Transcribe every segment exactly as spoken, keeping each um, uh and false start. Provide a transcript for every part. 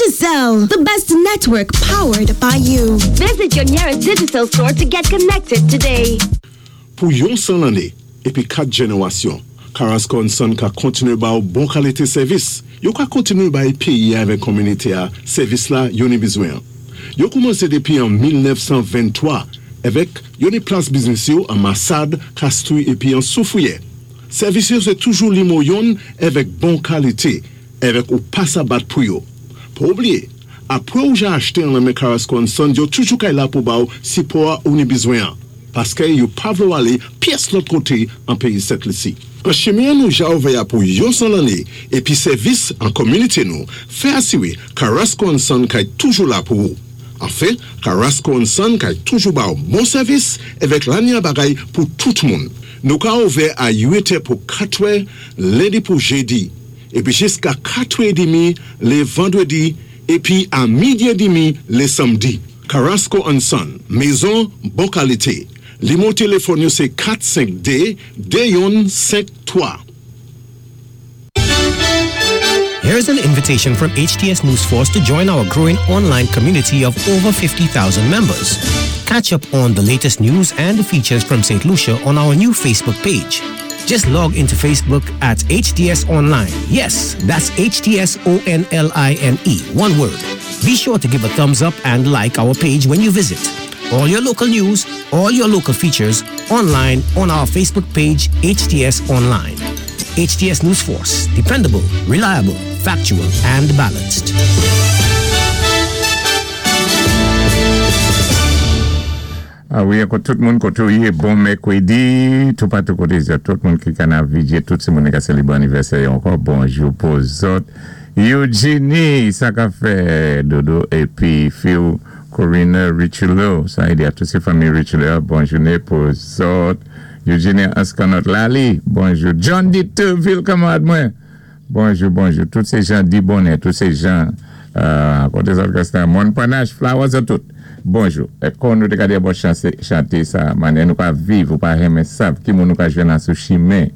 Digicel, the best network powered by you. Visit your nearest Digicel store to get connected today. Pou yon san lanné épi kat jénéwasyon, Carrasco and Son ka kontiné ba ou bon kalité sèvis. Yo ka kontiné bay péyi avèk kominité-a sèvis la yo ni bizwen. Yo koumansé dépi an mil nèf san venntwa avèk yo ni plas biznis yo an Massade, Castries épi an Soufrière. Sèvis yo sé toujou nimewo youn avèk bon kalité, avèk ou pa sa bat pou yo. Pa oubliyé, apwé ou ja achté an nan men Carrasco and Son, yo toujou kay la pou ba ou sipò ou ni bizwen. Paské yo pa vlé ou alé pyès lòt koté an péyi Sent Lisi. An chimen nou ja ouvè pou yon san lanné épi sèvis an kominité nou, fè asiwé Carrasco and Son kay toujou la pou ou. Anfen, Carrasco and Son kay toujou ba ou bon sèvis avèk lanya bagay pou tout moun. Nou ka ouvè a uit è pou katwè, lendi pou jédi, épi jiska katwè édmi lé vandwédi, épi a midi édmi lé sanmdi. Carrasco and Son, mézon bon kalité. Nimewo téléfòn yo sé kat senk dé de youn senk twa. Here's an invitation from H T S News Force to join our growing online community of over fifty thousand members. Catch up on the latest news and features from Saint Lucia on our new Facebook page. Just log into Facebook at H T S Online. Yes, that's H T S O N L I N E, one word. Be sure to give a thumbs up and like our page when you visit. All your local news, all your local features online on our Facebook page, H T S Online. H T S News Force, dependable, reliable, factual, and balanced. Ah wi, ankò tout moun koté ou yé, bon mèkwédi, tout patou koté zòt, tout moun ki ka navigé, tout sé moun ki sélébré anivèsè ankò, bonjou pou zòt. Eugenie, sa ka fè dodo, épi Phil, Corina Richelieu, sa i di a tout sé fanmi Richelieu, bon jouné pou zòt. Eugenie Askanot Lali, bonjou. John Dieterville, kanmwad mwen. Bonjou, bonjou. Tout sé jan di bonè, tout sé jan, euh, koté zòt Gaston, Mon Panache, Flowers, tout. Bonjou. É kon nou té ka di bon chanté sa, mannyè nou ka viv ou pa renmen sav, ki moun nou ka jwenn sou chimen.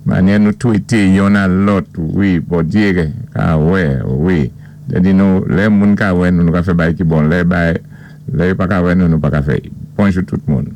Mannyè nou twété youn a lòt, wi, Bondyé ka wè, wi. Lè di nou, lè moun ka wè nou, nou ka fè bay ki bon, lè bay, lè pa ka wè nou, nou pa ka fè. Bonjou tout moun.